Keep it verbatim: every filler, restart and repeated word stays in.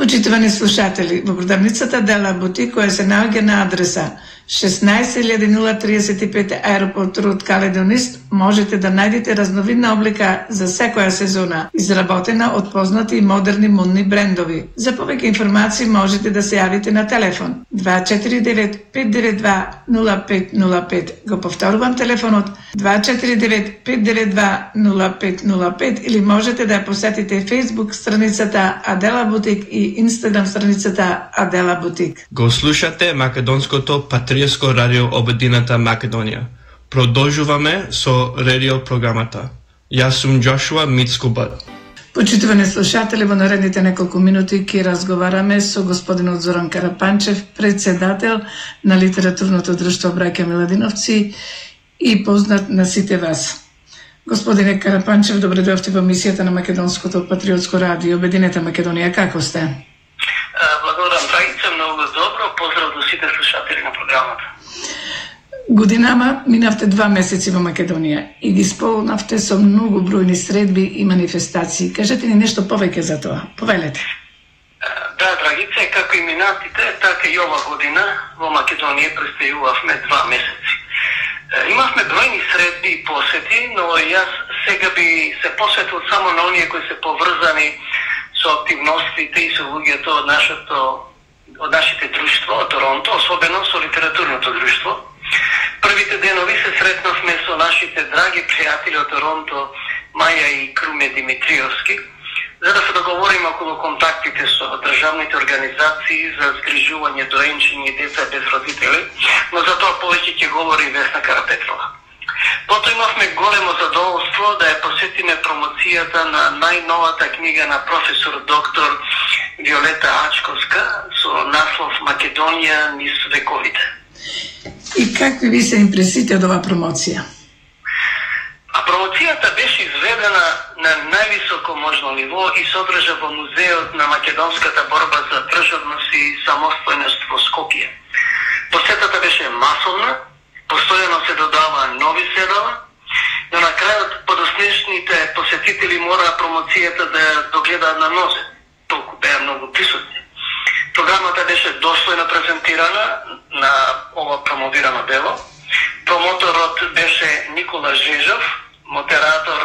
Почитувани слушатели, во продавницата Адела Бутик, која се наоѓа на адреса шеснаесет илјади нула триесет и пет Аеропорт Род Каледонист, можете да најдете разновидна облика за секоја сезона, изработена од познати и модерни модни брендови. За повеќе информации можете да се јавите на телефон два четири девет пет девет два нула пет нула пет. Го повторувам телефонот два четири девет пет девет два нула пет нула пет или можете да ја посетите Facebook страницата Адела Бутик и Инстаграм страницата Адела Бутик. Го слушате македонското патриотско радио Обединета Македонија. Продолжуваме со радио програмата. Јас сум Джошуа Мицкубар. Почитувани слушатели, во наредните неколку минути ќе разговараме со господинот Зоран Карапанчев, председател на литературното друштво Браќа Миладиновци и познат на сите вас. Господине Карапанчев, добре дојавте во емисијата на Македонското патриотско радио Обединета Македонија. Како сте? Благодарам, Драгица, многу добро. Поздрав до сите слушатели на програмата. Годинама минавте два месеци во Македонија и ги исполнавте со многу бројни средби и манифестации. Кажете ни нешто повеќе за тоа. Повелете. Да, Драгица, како и минатите, така и ова година во Македонија престојувавме два месеци. Имавме бројни средби и посети, но јас сега би се посветил само на оние кои се поврзани со активностите и со луѓето од нашето од нашите друштво, од Торонто, особено со литературното друштво. Првите денови се сретнавме со нашите драги пријатели од Торонто, Маја и Круме Димитриевски, за да се договориме околу контактите со државните организации за згрижување доенчени и деца без родители, но за тоа повеќе ќе говори Весна Карапетрова. Потоа имавме големо задоволство да ја посетиме промоцијата на најновата книга на професор доктор Виолета Ачковска со наслов Македонија низ вековите. И какви ви се импресите од оваа промоција? А промоцијата беше изведена на највисоко можно ниво и содржа во Музеот на македонската борба за државност и самостојност во Скопје. Посетата беше масовна, постојано се додава нови седала, но на крајот подоснешните посетители мора промоцијата да ја догледаат на нозе, толку беа многу присутни. Програмата беше достојно презентирана на ова промовирано дело. Промоторот беше Никола Жежов, модератор